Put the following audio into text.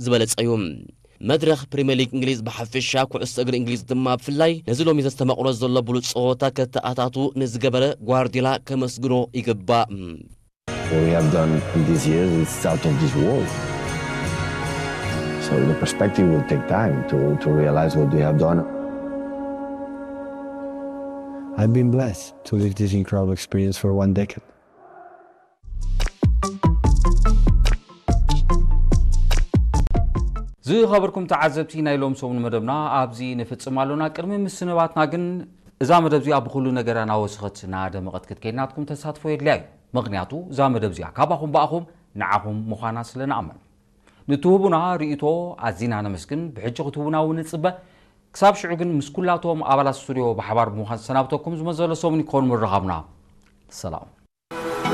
ዝበለጸ እዩ። መድረኽ ፕሪምየር ሊግ እንግሊዝ ብሓፈሻ፣ ኩዕሶ እግሪ እንግሊዝ ድማ ብፍላይ፣ ነዚ ሎሚ ዘስተማቕሮ ዘሎ ብሉጽ ጸወታ ከተኣታቱ ንዝገበረ ጓርዲዮላ ከመስግኖ ይግባእ። What we have done in these years, it's out of this world. So the perspective will take time to, to realize what we have done. I've been blessed to live this incredible experience for one decade. ዝኸበርኩም ተዓዘብቲ፣ ናይ ሎም ሰሙን መደብና ኣብዚ ንፍጽም ኣሎና። ቅድሚ ምስንባትና ግን፣ እዛ መደብ እዚኣ ብኹሉ ነገራ ናወሰኸት ናደመቐት ክትከይድ ናትኩም ተሳትፎ የድልያ እዩ። ምኽንያቱ እዛ መደብ እዚኣ ካባኹም ብኣኹም ንዓኹም ምዃና ስለ ንኣምን። ንትህቡና ርእይቶ ኣዚና ነመስግን። ብሕጂ ክትህቡና እውን ንጽበ። ክሳብ ሽዑ ግን፣ ምስ ኩላቶም ኣባላት ስቱድዮ ብሓባር ብምዃን ዝሰናብተኩም ዝመዘሎ ሰሙን ይከውን ምርኻብና። ሰላም።